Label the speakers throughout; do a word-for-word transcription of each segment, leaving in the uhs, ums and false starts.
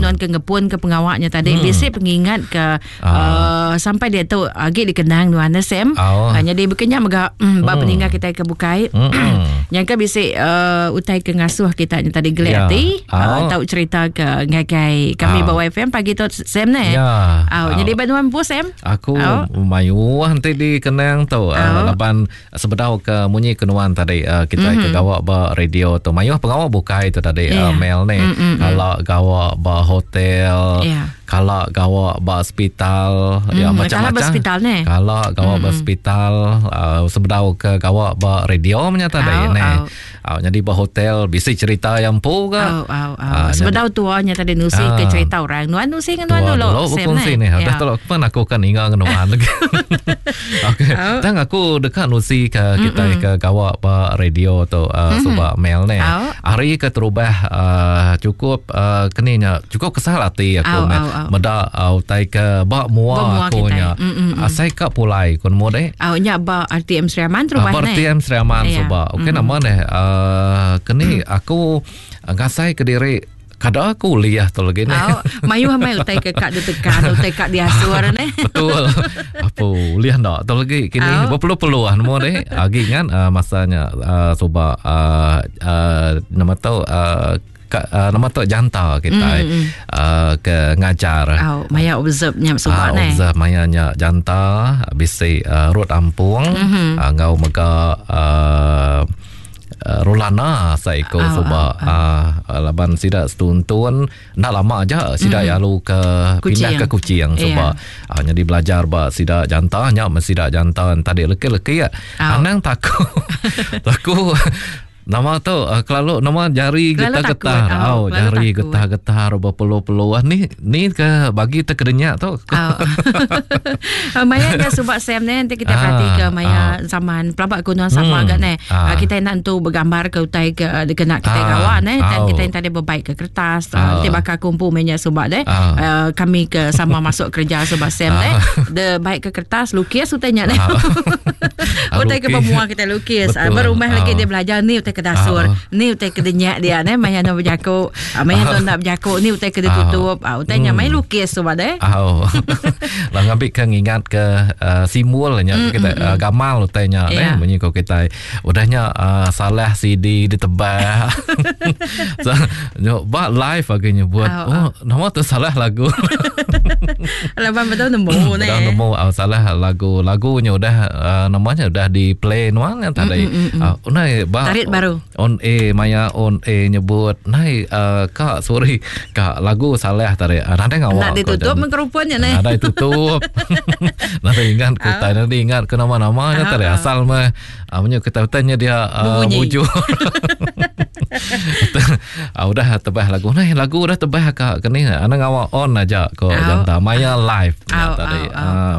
Speaker 1: nuan ke ngepun ke pengawaknya tadi
Speaker 2: Hmm.
Speaker 1: bisi pengingat ke
Speaker 2: Ah.
Speaker 1: uh, sampai dia tu agi dikenang nuan eh, Sam.
Speaker 2: Oh.
Speaker 1: Uh, jadi berkenyak mega mm, ba
Speaker 2: Hmm.
Speaker 1: peninggal kita ke bukai.
Speaker 2: Hmm.
Speaker 1: Yang ke bisi uh, utai ke ngasuh kita nya tadi gelik
Speaker 2: Ya.
Speaker 1: hati uh,
Speaker 2: Oh.
Speaker 1: tau cerita ke ngagai kami
Speaker 2: Ah.
Speaker 1: ba Y F M pagi tu Sam ne.
Speaker 2: Ya.
Speaker 1: Oh,
Speaker 2: Oh.
Speaker 1: jadi ba nuan pun Sam.
Speaker 2: Aku
Speaker 1: Oh.
Speaker 2: mayu nanti dikenang tu
Speaker 1: Oh.
Speaker 2: uh, laban sebedau ke munyi kenuan tadi uh, kita mm-hmm. ke gawak ba radio tu mayuh pengawak bukai tu tadi
Speaker 1: Yeah.
Speaker 2: uh, Mel ni
Speaker 1: Mm, mm,
Speaker 2: kalau gawak ba hotel
Speaker 1: Yeah.
Speaker 2: kalau gawak ba hospital
Speaker 1: Mm,
Speaker 2: ya
Speaker 1: kalau
Speaker 2: macam-macam
Speaker 1: ba hospital ni.
Speaker 2: kalau gawak ba hospital uh, sebedau ke gawak ba radio punya tadi
Speaker 1: Au,
Speaker 2: ni
Speaker 1: au.
Speaker 2: uh, jadi ba hotel bisi cerita yang pu ke
Speaker 1: Au, au, au.
Speaker 2: Ah,
Speaker 1: Sebedau tuanya tadi nusi ke
Speaker 2: Ah.
Speaker 1: cerita orang. Nuan nusi dengan nuan
Speaker 2: Tua
Speaker 1: dulu.
Speaker 2: dulu
Speaker 1: Sam
Speaker 2: berkongsi ni.
Speaker 1: Ya.
Speaker 2: Dah tolak pun aku kan ingat dengan nuan lagi. Okey.
Speaker 1: Au.
Speaker 2: Tang aku dekat nusi ke kita ke gawak ba radio tu uh, sebab mail ni.
Speaker 1: Au.
Speaker 2: Hari ke terubah uh, cukup uh, keninya cukup kesal hati aku
Speaker 1: Au,
Speaker 2: mel.
Speaker 1: au, au.
Speaker 2: Meda uh, utai ke ba
Speaker 1: Ba
Speaker 2: mua
Speaker 1: mua
Speaker 2: aku
Speaker 1: kita.
Speaker 2: nya.
Speaker 1: Mm, mm, mm.
Speaker 2: Asai ka pulai kun mu deh.
Speaker 1: Au nya ba R T M Sri Aman terubah
Speaker 2: Ah,
Speaker 1: ne.
Speaker 2: R T M Sri Aman
Speaker 1: Ya.
Speaker 2: sebab. Okey nama ni uh, keni aku uh, ngasai ke diri kada aku kuliah tu lagi ni.
Speaker 1: Au, mayu mai utai ke kak ditekan, utai kak diasur ne.
Speaker 2: Betul. Apa uliah ndak tu lagi kini
Speaker 1: Au.
Speaker 2: berpeluh-peluh ah nemu deh. Agi kan uh, masanya uh, suba uh, uh, nama tu uh, ka, uh, nama tu janta kita
Speaker 1: Mm, mm, mm.
Speaker 2: uh, ke ngajar.
Speaker 1: Au, maya observe nya
Speaker 2: Ah,
Speaker 1: suba ne.
Speaker 2: observe mayanya janta bisi uh, rut ampung
Speaker 1: Mhm.
Speaker 2: mm-hmm. uh, ngau mega uh, uh, Rolana saiko
Speaker 1: Au,
Speaker 2: suba uh, laban sida setuntun nak lama aja sida mm. lalu ke
Speaker 1: Kuching.
Speaker 2: pindah ke Kuching suba
Speaker 1: Ya.
Speaker 2: uh, jadi belajar ba sida janta nya sida janta tadi leki-leki ya
Speaker 1: Au.
Speaker 2: anang takut takut Nama tu uh, kelalu nama jari
Speaker 1: Kelalu
Speaker 2: getar-getar.
Speaker 1: takut. Au,
Speaker 2: Au,
Speaker 1: kelalu
Speaker 2: jari
Speaker 1: takut.
Speaker 2: getar-getar berpeluh-peluh. Ni ni ke bagi terkedenyak tu.
Speaker 1: Au. Maya dia subak Sam ni nanti kita
Speaker 2: Ah,
Speaker 1: perhati ke maya zaman pelabak kuno sama
Speaker 2: Hmm,
Speaker 1: agak ni.
Speaker 2: ah.
Speaker 1: Ah, kita nak tu bergambar ke utai ke kena kita
Speaker 2: Ah,
Speaker 1: kawan eh dan
Speaker 2: au.
Speaker 1: kita yang tadi berbaik ke kertas
Speaker 2: Ah.
Speaker 1: ah. Nanti bakal kumpul minyak subak deh.
Speaker 2: Ah.
Speaker 1: Ah, kami ke sama masuk kerja subak Sam
Speaker 2: Ah.
Speaker 1: deh. De baik ke kertas lukis utainya ni.
Speaker 2: Ah.
Speaker 1: Utai ke
Speaker 2: Lukis.
Speaker 1: pemua kita lukis. Ah,
Speaker 2: Betul.
Speaker 1: berumah lagi
Speaker 2: Ah.
Speaker 1: dia belajar ni utai ke dasur.
Speaker 2: Ah.
Speaker 1: Ni utai ke denyak dia ni maya nak berjakuk. Ah, maya tu nak berjakuk ni utai ke dia
Speaker 2: Ah.
Speaker 1: tutup. Ah, utainya
Speaker 2: Hmm.
Speaker 1: main lukis subak deh.
Speaker 2: Au. Lah ngambil ke ngingat ke uh, simbolnya mm, kita mm, uh, gamal utainya
Speaker 1: Ya.
Speaker 2: yeah. bunyi ko kita. Udahnya uh, salah C D ditebah. so, nyo ba live lagi nyebut.
Speaker 1: Au,
Speaker 2: Oh, nama tu salah lagu.
Speaker 1: Laban betul nemu ni.
Speaker 2: Udah nemu uh, salah lagu lagunya udah uh, namanya udah di play nuang yang tadi.
Speaker 1: Mm, mm, mm, mm.
Speaker 2: Uh, nai ba
Speaker 1: Tarik baru.
Speaker 2: On A maya on A nyebut nai uh, kak sorry kak lagu salah tadi. Uh, nanti ngawak.
Speaker 1: Nak
Speaker 2: ko
Speaker 1: ditutup
Speaker 2: dan-
Speaker 1: mengkerupunnya ni.
Speaker 2: Ada tutup. Nanti ingat ku tanya nanti ingat ke nama-namanya
Speaker 1: Ah,
Speaker 2: tadi
Speaker 1: ah.
Speaker 2: asal mah ah, punya kita tanya dia uh,
Speaker 1: Berbunyi.
Speaker 2: bujur. ah, udah tebah lagu. Nah, lagu udah tebah kak kini ana ngawak on aja ko
Speaker 1: Au.
Speaker 2: janta maya live ya,
Speaker 1: Au,
Speaker 2: tadi.
Speaker 1: au, au.
Speaker 2: Ah,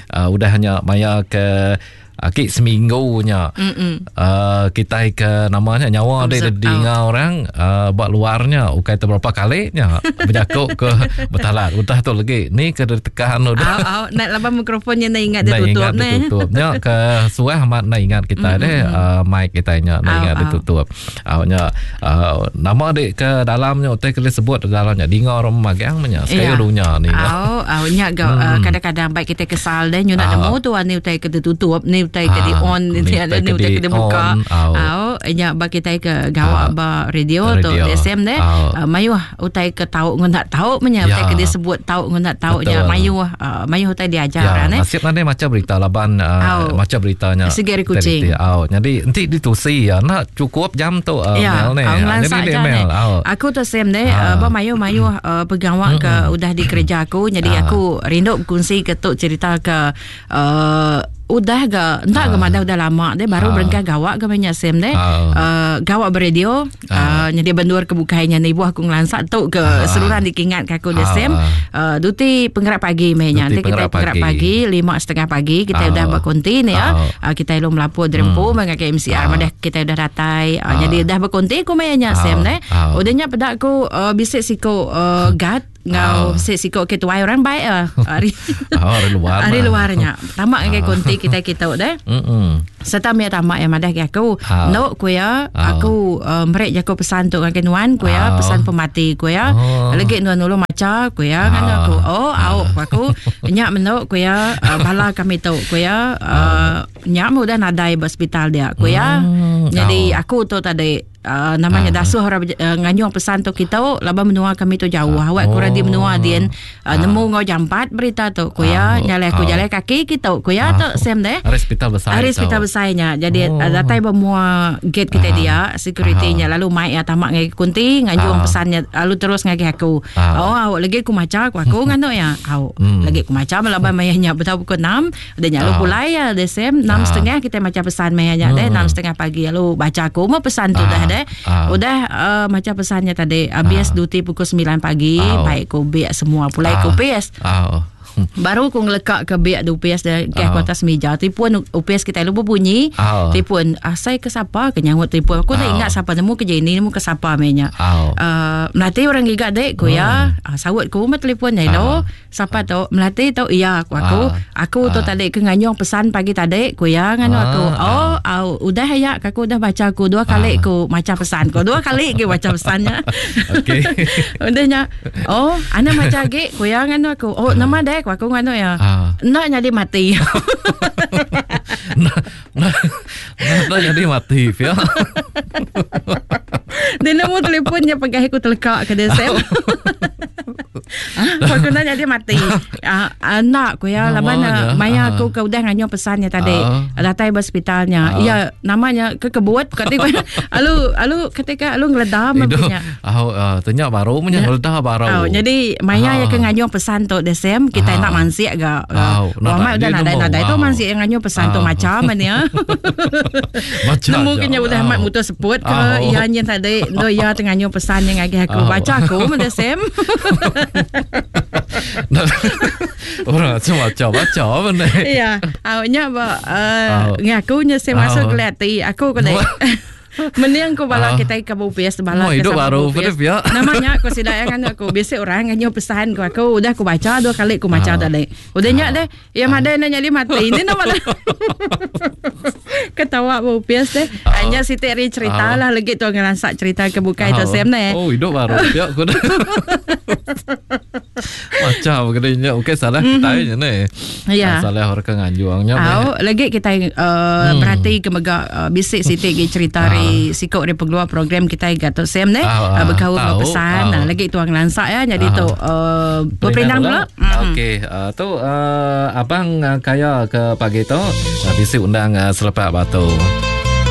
Speaker 2: ah, udah hanya maya ke Akik seminggunya
Speaker 1: Mm-mm.
Speaker 2: uh, kita ke namanya nyawa dia
Speaker 1: Observe,
Speaker 2: dengar orang uh, buat luarnya ukai terberapa kalinya berjakuk ke bertalat udah tu lagi ni ke tekan udah
Speaker 1: Au, au, nak laban mikrofonnya nak ingat dia
Speaker 2: nak
Speaker 1: tutup
Speaker 2: ingat
Speaker 1: ni.
Speaker 2: dia tutup nya ke suah amat nak ingat kita mm, deh uh, mic kita nya nak
Speaker 1: Au,
Speaker 2: ingat dia
Speaker 1: au.
Speaker 2: tutup uh, nya uh, nama dek ke dalamnya utai ke disebut dalamnya dengar orang magang nya sekali
Speaker 1: Ya.
Speaker 2: dunia ni
Speaker 1: Au, au nya gau uh, kadang-kadang baik kita kesal deh nyu nak
Speaker 2: Ah.
Speaker 1: nemu tu ni utai ke ditutup ni utai ke di
Speaker 2: Ah,
Speaker 1: on ni
Speaker 2: ni
Speaker 1: ada
Speaker 2: utai
Speaker 1: ni
Speaker 2: ke
Speaker 1: utai
Speaker 2: di
Speaker 1: ke dibuka.
Speaker 2: on, au.
Speaker 1: Au nya ba kita ke gawak
Speaker 2: Ah.
Speaker 1: ba radio tu
Speaker 2: Radio.
Speaker 1: S M deh.
Speaker 2: Au.
Speaker 1: Uh, mayuh utai ke tau ngun tak tau menya utai
Speaker 2: Ya.
Speaker 1: ke disebut tau ngun tak tau nya
Speaker 2: Betul.
Speaker 1: mayuh uh, mayuh utai diajar
Speaker 2: Ya,
Speaker 1: ne.
Speaker 2: nasib nanti macam berita laban
Speaker 1: Au.
Speaker 2: uh, macam beritanya.
Speaker 1: Segeri kucing.
Speaker 2: Teliti. Au, jadi nanti ditusi ya nak cukup jam tu uh,
Speaker 1: Ya,
Speaker 2: mail ni.
Speaker 1: au
Speaker 2: Ah,
Speaker 1: ngelansak
Speaker 2: Jadi
Speaker 1: je
Speaker 2: mail.
Speaker 1: ni.
Speaker 2: Au.
Speaker 1: Aku tu Sam ni,
Speaker 2: Ah.
Speaker 1: uh, ba mayu-mayu uh, pegawai ke udah di kerja aku. Jadi
Speaker 2: Ah.
Speaker 1: aku rindu berkongsi ke tu cerita ke uh, udah ke entah ke
Speaker 2: Ah.
Speaker 1: mana udah lama deh baru
Speaker 2: Ah.
Speaker 1: berengkah gawak ke banyak Sam deh.
Speaker 2: Ah.
Speaker 1: Uh, gawak beradio
Speaker 2: Ah.
Speaker 1: uh, jadi bendur ke bukainya ni ibu aku ngelansak tu ke
Speaker 2: Ah.
Speaker 1: seluruhan dikingat ke aku deh
Speaker 2: Ah.
Speaker 1: Sam. Uh, duti penggerak pagi mehnya.
Speaker 2: Duti
Speaker 1: Nanti kita
Speaker 2: penggerak
Speaker 1: penggerak
Speaker 2: pagi.
Speaker 1: pagi lima setengah pagi kita
Speaker 2: Ah.
Speaker 1: udah berkonti ni ya.
Speaker 2: Ah.
Speaker 1: Uh, kita belum melapor derempu hmm. mengakai M C R
Speaker 2: Ah.
Speaker 1: madah kita udah datai. Uh,
Speaker 2: Ah.
Speaker 1: Jadi dah berkonti ku mainnya
Speaker 2: Ah.
Speaker 1: Sam ne.
Speaker 2: Ah.
Speaker 1: Udahnya pedak ku uh, bisik siko uh, guard Ngau si siko ke tuai orang baik ah. Ari
Speaker 2: Oh, ari luar.
Speaker 1: Ari luarnya. Tamak ngagai konti kita kita deh.
Speaker 2: Mm.
Speaker 1: Serta mia tamak yang madah ke aku.
Speaker 2: Ah.
Speaker 1: No ku ya,
Speaker 2: Ah.
Speaker 1: aku uh, merik jaku pesan tu ngagai nuan ku ya,
Speaker 2: Ah.
Speaker 1: pesan pemati ku ya.
Speaker 2: Oh.
Speaker 1: Legi nuan dulu maca ku ya, kan
Speaker 2: Ah.
Speaker 1: aku. Oh, au ku aku. Nyak menuk ku ya, uh, bala kami tu ku ya, uh, nyak mu udah nadai ba hospital dia ku ya.
Speaker 2: Hmm.
Speaker 1: Jadi
Speaker 2: Ah.
Speaker 1: aku tu tadi uh, namanya
Speaker 2: Ah.
Speaker 1: dasuh orang uh, nganyung pesan tu kita laban menua kami tu jauh. Awak
Speaker 2: Oh.
Speaker 1: kurang di menua din uh,
Speaker 2: Ah.
Speaker 1: nemu ngau jampat berita tu ku ya,
Speaker 2: Ah.
Speaker 1: nyalai aku
Speaker 2: Ah.
Speaker 1: jalan kaki kita ku ya
Speaker 2: Ah.
Speaker 1: tu sem deh.
Speaker 2: Hari hospital besar.
Speaker 1: Hari
Speaker 2: tu.
Speaker 1: hospital besarnya. Jadi
Speaker 2: Oh.
Speaker 1: oh. datai bermua gate kita
Speaker 2: Ah.
Speaker 1: dia, security-nya
Speaker 2: Ah.
Speaker 1: lalu mai ya tamak ngai kunti nganjung
Speaker 2: Ah.
Speaker 1: pesannya lalu terus ngagai aku.
Speaker 2: Ah.
Speaker 1: Oh, awak lagi aku maca aku aku nganu ya. Au.
Speaker 2: Hmm.
Speaker 1: Lagi aku maca laban mayanya betul pukul enam, dia lalu
Speaker 2: Ah.
Speaker 1: pulai ya desem enam
Speaker 2: Ah.
Speaker 1: setengah kita maca pesan mayanya deh
Speaker 2: Hmm.
Speaker 1: enam setengah pagi lalu baca aku mau pesan tu
Speaker 2: Ah.
Speaker 1: dah deh.
Speaker 2: Ah.
Speaker 1: Udah uh, maca pesannya tadi habis
Speaker 2: Ah.
Speaker 1: duty pukul sembilan pagi,
Speaker 2: Ah.
Speaker 1: baik ku biak semua pulai
Speaker 2: Ah.
Speaker 1: ku P S.
Speaker 2: Ah.
Speaker 1: Baru ku ngelekak ke biak du U P S dia ke
Speaker 2: Ah.
Speaker 1: aku atas meja. Telefon U P S kita lu berbunyi.
Speaker 2: Ah.
Speaker 1: Telefon asai ke siapa ke nyangut telefon. Aku tak
Speaker 2: Ah.
Speaker 1: ingat siapa nemu ke Jenny nemu ke siapa menya.
Speaker 2: Ah.
Speaker 1: Uh, melati orang giga dek ku ya. Ah, sawut ku mah telefon hello.
Speaker 2: Ah.
Speaker 1: Siapa tu? Melati tu iya aku aku.
Speaker 2: Ah.
Speaker 1: Aku tu
Speaker 2: Ah.
Speaker 1: tadi ke nganyung pesan pagi tadi ku ya nganu
Speaker 2: Ah.
Speaker 1: aku. Oh, au, udah ya aku udah baca aku dua kali
Speaker 2: Ah.
Speaker 1: ku maca pesan ku. Dua kali ke baca pesannya.
Speaker 2: Okey.
Speaker 1: Udahnya. Oh, ana maca lagi ku ya nganu aku. Oh, nama dek aku nganu ya.
Speaker 2: Ah.
Speaker 1: Nak jadi mati.
Speaker 2: Nah, nah, nah, jadi mati ya.
Speaker 1: Dia nemu telefonnya pegang aku telekak ke dia Sam. Ah, aku nak jadi mati. Ah, ah, nak ku ya laban
Speaker 2: Namanya.
Speaker 1: maya
Speaker 2: Ah.
Speaker 1: aku ke udah nganyo pesannya tadi.
Speaker 2: Ah.
Speaker 1: Datai ke hospitalnya.
Speaker 2: Ah.
Speaker 1: Ya, namanya ke kebut ketika alu alu ketika alu ngeledam
Speaker 2: Itu,
Speaker 1: punya.
Speaker 2: ah, ah, tanya baru punya ngeledah baru.
Speaker 1: Oh, jadi maya
Speaker 2: Ah.
Speaker 1: yang ke nganyo pesan tu desem kita
Speaker 2: Ah.
Speaker 1: nak mansik ga.
Speaker 2: Ah,
Speaker 1: Wah, mak udah
Speaker 2: nadai
Speaker 1: nadai
Speaker 2: nemu.
Speaker 1: nadai tu
Speaker 2: Ah.
Speaker 1: mansik yang nganyo pesan tu
Speaker 2: Ah.
Speaker 1: macam mana ya.
Speaker 2: Baca
Speaker 1: Nemu
Speaker 2: je.
Speaker 1: kena udah
Speaker 2: Ah.
Speaker 1: mat mutus seput ke
Speaker 2: Ah.
Speaker 1: ya nyen tadi do ya tengah nyo pesan yang ngagi aku
Speaker 2: Ah.
Speaker 1: baca aku menda sem.
Speaker 2: Orang macam baca baca apa ni?
Speaker 1: Ya, awaknya ba uh,
Speaker 2: Ah.
Speaker 1: ngaku nya sem masuk
Speaker 2: Ah.
Speaker 1: kelati aku ko dai. Mending aku bala
Speaker 2: Ah.
Speaker 1: kita ke U P S bala
Speaker 2: Oh,
Speaker 1: ke
Speaker 2: hidup
Speaker 1: sama
Speaker 2: baru
Speaker 1: U P S.
Speaker 2: pada pihak.
Speaker 1: Namanya aku sida yang kan aku biasa orang nganyo pesan ku aku udah aku baca dua kali aku baca
Speaker 2: Ah.
Speaker 1: tadi. Udah nyak
Speaker 2: Ah.
Speaker 1: deh. Ya madai nak jadi mati. Ini nama dah. Ketawa bu U P S deh.
Speaker 2: Ah.
Speaker 1: Hanya Siti ri cerita
Speaker 2: Ah.
Speaker 1: lah lagi tu ngelansak cerita ke bukai tu
Speaker 2: Ah.
Speaker 1: sem ne.
Speaker 2: Oh, hidup baru pihak aku dah. Macam kena nyak okey salah kita je ni.
Speaker 1: Ya.
Speaker 2: Ah, Salah orang kan nganjuangnya.
Speaker 1: Au, lagi kita uh,
Speaker 2: Hmm.
Speaker 1: berhati ke mega uh, bisik Siti gi cerita
Speaker 2: Ah.
Speaker 1: ri sikok ri pengeluar program kita gato sem ne
Speaker 2: Ah,
Speaker 1: uh, berkaul
Speaker 2: tahu.
Speaker 1: uh, pesan.
Speaker 2: Ah.
Speaker 1: Nah, lagi tuang lansak ya jadi
Speaker 2: Ah.
Speaker 1: tu uh, berperindang pula. Mm.
Speaker 2: Okey, uh, tu uh, abang uh, kaya ke pagi tu uh, bisi undang uh, selepak batu.